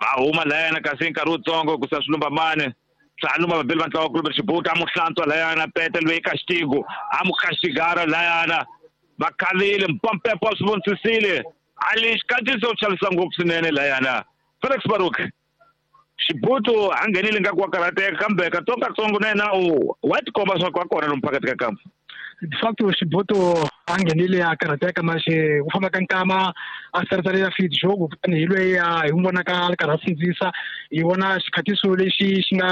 A huma layana kasi nkarhi wutsongo ku sa swilumba mani swa lumba vabeli va ntlawa Clube Xibutu a mu hlantswa layana pete loyi castigo a mu castigara layana va khalile mpampepo a swi vonisisile a lexi kantiso chavisa ngopfu swinene layana Felix Baruk Xibutu a nghenile nga ku wa karhateka kambe katsongokatsongo na yena u wa tikomba swa ku a kona lomu phakathi ka kampa. De facto Xibutu a nghenile a karhateka manjhe ku famba ka nkama a saritsalela feed jogo kutani hi loyi a hi n'wi vonaka a ri karhi a sindzisa hi vona xikhatiso lexi xi nga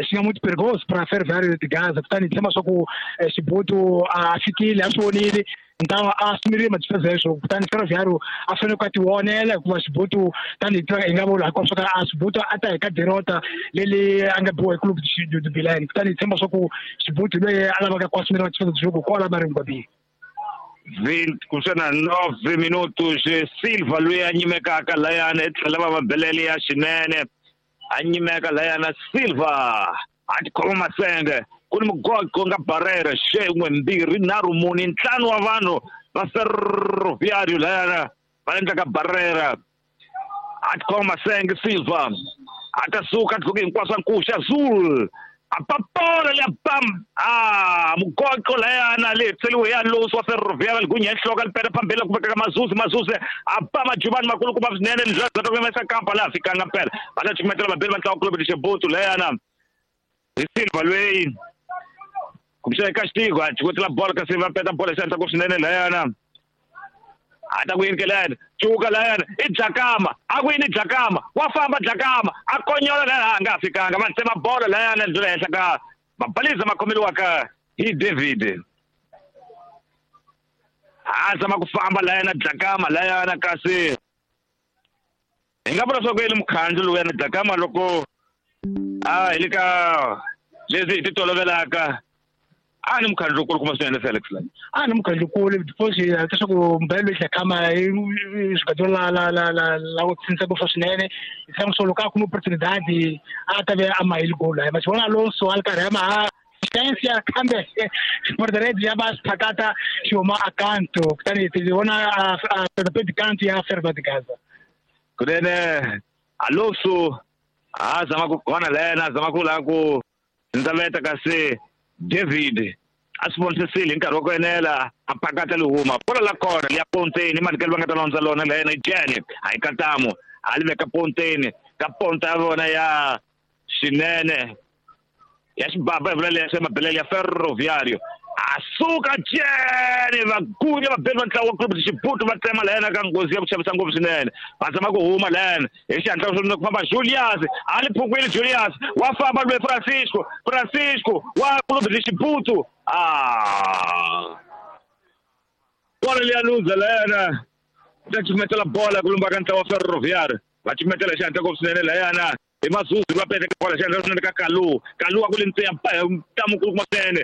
xi nga muito perigoso para Ferroviário de Gaza kutani hi tshemba swa ku Xibutu a fikile a swi vonile então a assumiria uma despesa extra kutani Ferroviário a fanele ku a ti vonela hikuva Xibutu tanihi tiva hi nga vula hinkwaswo swa ka a Xibutu a ta hi ka derota leli a nga biwa hi club du Belém kutani hi tshemba swa ku Xibutu loyi a lavaka ku asumela despesa de jogo kwala Maringwabini. 20 kumbexana 9 minutos Silva loyi a nyimekaka layana etlhela va mabelele ya xinene a nyimeka layana Silva a tikhoma masenge ku ni mugogo nga barrera xin'we mbirhi nharhu mune ntlhanu wa vanhu va Ferroviário layana va endlaka barrera a tikhoma masenge Silva a ta suka a tluke hinkwaswo a nkuxa Azul a papola leya bam a mugoqo layana le tseliwe ya Alonso wa Ferroviário ligunya enhloko lipeta phambili ku vekaka Mazuzi Mazuzi a ba majubani makulukumba swinene ndlela ta ku kampa laha fikanga mpela va ta cukumetela vabeli va ntlawa Clube de Xibutu layana hi Silva loyi kumbexana castigo a cukumetela bolo kasi va peta bolo hi xandla ku swinene layana a ta ku yini ke layana cuka layana i Dlakama a ku yini Dlakama wa famba Dlakama a konyola layana a nga ha fikanga va tsema bolo layana ndlela henhla ka mabaliza ma khomeliwaka hi David a zama ku famba layana Dlakama layana kasi hi nga vula swa ku yini mukhandlu lowuyana Dlakama loko a hi le ka leswi hi ti tolovelaka a ni mukhandlu lowukulu swinene Felix la a ni mukhandlu lowukulu because leswaku mbhelo loyi Dlakama i swigadzo la la la la la ku tshinisa ngopfu swinene hi tshama swo loko a kuma opportunidade a ta ve a mahile goal la ma xi vona Alonso a ri karhi a ma chance ya kambe Porteredi ya va sphakata xi huma a kanto kutani ti vona a pedi kanto ya Ferroviário de Gaza kunene Alonso a zama ku kona layana a zama ku lava ku ndzaveta kasi David a swi vonisisile hi nkarhi wa ku enela a pakata li huma bola la kona liya ponteni manikelo va nga ta londza lona layena i Jene a hi katamu a li veka ponteni ka ponta ya vona ya xinene ya xibaba hi vula leswi ya mabelele ya Ferroviário a suka Jene vagunya vabeli va ntlawa wa Clube de Xibutu va tsema layena ka nghozi ya ku chavisa ngopfu swinene va zama ku huma layena hi xihatla swo ku famba Julius a li phukwile Julius wa famba loyi Francisco Francisco wa Clube de Xibutu a bola leya luza layena ta cukumetela bola ku lumba ka ntlawa wa Ferroviário va cukumetela hi xihatla ngopfu swinene layana hi Mazuzi va pete bola xihatla swinene ka Kalu Kalu a ku li ntseya ntamu kulukumba swinene.